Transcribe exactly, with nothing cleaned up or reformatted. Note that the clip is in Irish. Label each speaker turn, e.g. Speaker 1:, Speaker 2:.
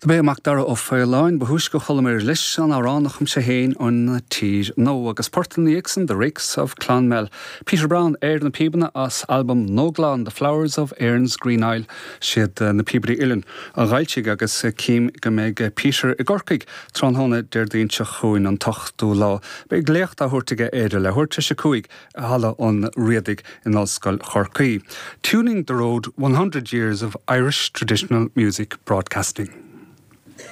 Speaker 1: B'é Macdara Ó Faoláin ba thúisce a chualamar leis an amhrán a chum sé féin an Tír Nua agus port ina dhiaidh sin The Rakes of Clonmel. Peter Brown ar na píobanna as albam Nóglan The Flowers of Erin's Green Isle siad na píobairí uilleann a d'fhoilsigh agus cím go mbeidh Peter i gCorcaigh tráthnóna Déardaoin seo chugainn an t-ochtú lá. Beidh léacht á thabhairt aige ar a leathuair tar éis a cúig i Halla an Riadaigh in Ollscoil Chorcaí. Tuning the Road one hundred Years of Irish Traditional Music Broadcasting.